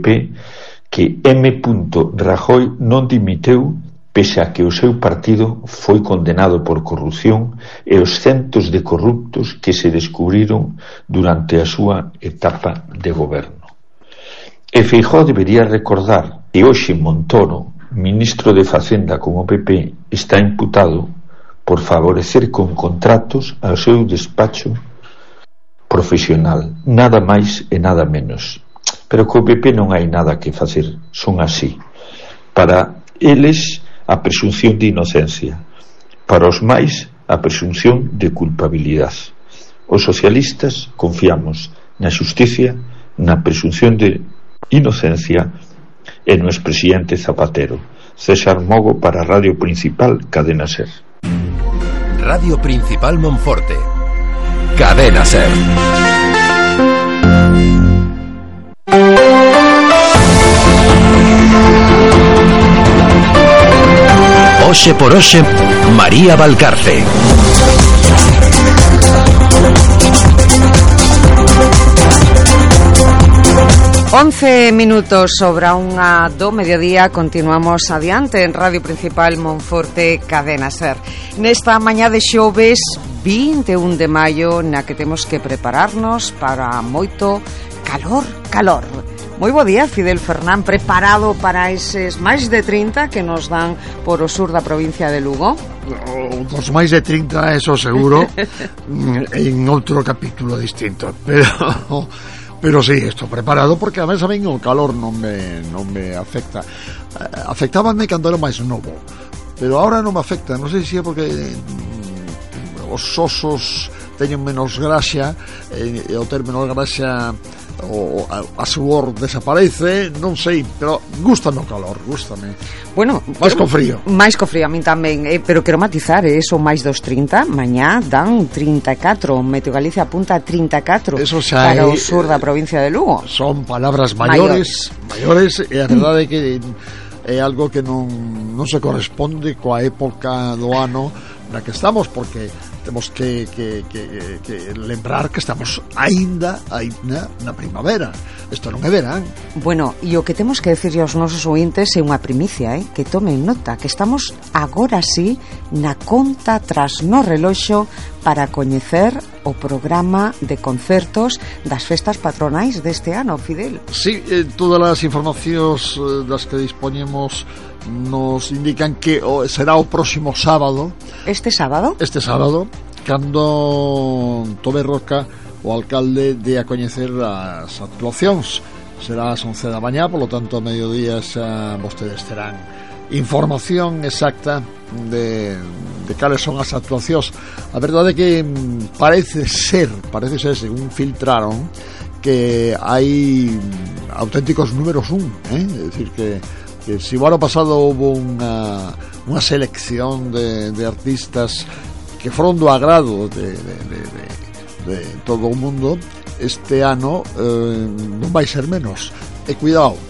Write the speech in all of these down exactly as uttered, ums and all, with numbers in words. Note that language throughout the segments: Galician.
P que M. Rajoy non dimitiu pese a que o seu partido foi condenado por corrupción e os centos de corruptos que se descubriron durante a súa etapa de goberno. E Feijóo debería recordar que hoxe Montoro, ministro de Facenda con o P P, está imputado por favorecer con contratos ao seu despacho profesional, nada máis e nada menos. Pero co P P non hai nada que facer, son así. Para eles, a presunción de inocencia. Para os máis, a presunción de culpabilidade. Os socialistas confiamos na xusticia, na presunción de inocencia e no expresidente Zapatero. César Mogo para Radio Principal, Cadena Ser. Radio Principal Monforte, Cadena Ser. Oxe por Oxe, María Valcarce. Once minutos sobre a unha do mediodía. Continuamos adiante en Radio Principal Monforte, Cadena Ser. Nesta mañá de xoves vinte e un de maio, na que temos que prepararnos para moito calor, calor. Moi bo día, Fidel Fernán, preparado para eses máis de trinta que nos dan por o sur da provincia de Lugo? Dos máis de trinta, eso seguro, en outro capítulo distinto, pero pero sí, estou preparado porque a mí saben o calor non me, non me afecta. Afectábame cando era máis novo, pero ahora non me afecta, non sei se é porque os osos teñen menos graxa, e ao ter menos graxa o a, a suor desaparece, non sei, pero gústame o calor, gústame. Bueno, máis co frío. Máis co frío a min tamén, eh, pero quero matizar, eh, son máis dos trinta, mañá dan trinta e catro, Meteo Galicia apunta a trinta e catro para o sur da provincia de Lugo. Son palabras maiores, maiores, e a verdade é que é algo que non non se corresponde coa época do ano na que estamos, porque temos que, que, que, que lembrar que estamos aínda aínda na primavera. Isto non é verán. Bueno, e o que temos que decirlle aos nosos ointes é unha primicia, eh? Que tomen nota, que estamos agora sí na conta tras no reloxo para coñecer o programa de concertos das festas patronais deste ano, Fidel. Sí, eh, todas as informacións eh, das que dispoñemos nos indican que o, será o próximo sábado. Este sábado? Este sábado, cando Tobé Roca, o alcalde, de a coñecer as actuacións. Será ás once da mañá, polo tanto, a mediodía xa vostedes terán información exacta de, de cales son as actuacións. A verdade é que parece ser, parece ser, según filtraron, que hai auténticos números un, eh? É dicir que que si o ano pasado houve unha, unha selección de, de artistas que foron do agrado de, de, de, de, de todo o mundo, este ano eh, non vai ser menos. E cuidado,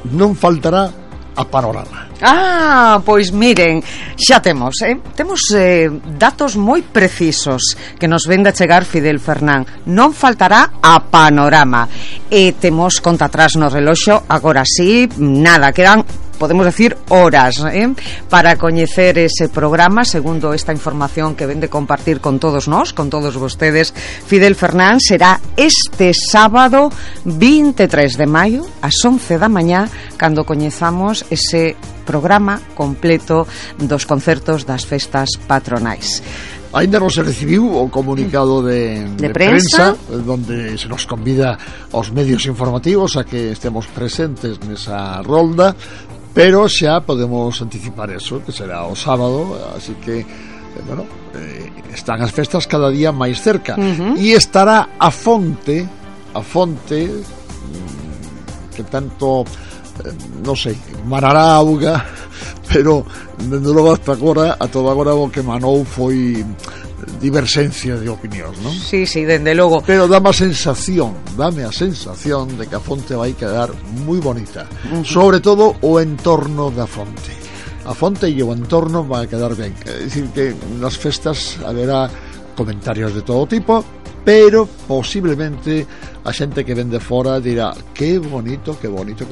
non faltará a Panorama. Ah, pois miren, xa temos, eh? Temos eh, datos moi precisos que nos vende a chegar Fidel Fernán. Non faltará a Panorama. E temos conta atrás no reloxo, agora sí, nada, quedan, podemos decir, horas, eh? Para coñecer ese programa, segundo esta información que vende compartir con todos nós, con todos vostedes. Fidel Fernán, será este sábado vinte e tres de maio ás once da mañá cando coñezamos ese programa completo dos concertos das festas patronais. Ainda non se recibiu o comunicado de, de, de prensa, prensa, donde se nos convida aos medios informativos a que estemos presentes nesa rolda, pero xa podemos anticipar eso, que será o sábado, así que, eh, bueno, eh, están as festas cada día máis cerca. Uh-huh. E estará a fonte, a fonte, que tanto, eh, non sei, marará auga, pero dende logo hasta agora, a toda agora o que manou foi diversencia de opinións, non? Sí, sí, dende logo. Pero dame a sensación, dame a sensación de que a fonte vai quedar moi bonita. Uh-huh. Sobre todo o entorno da fonte. A fonte e o entorno vai quedar ben. É dicir que nas festas haberá comentarios de todo tipo, pero posiblemente a xente que vende fora dirá que bonito, que bonito, que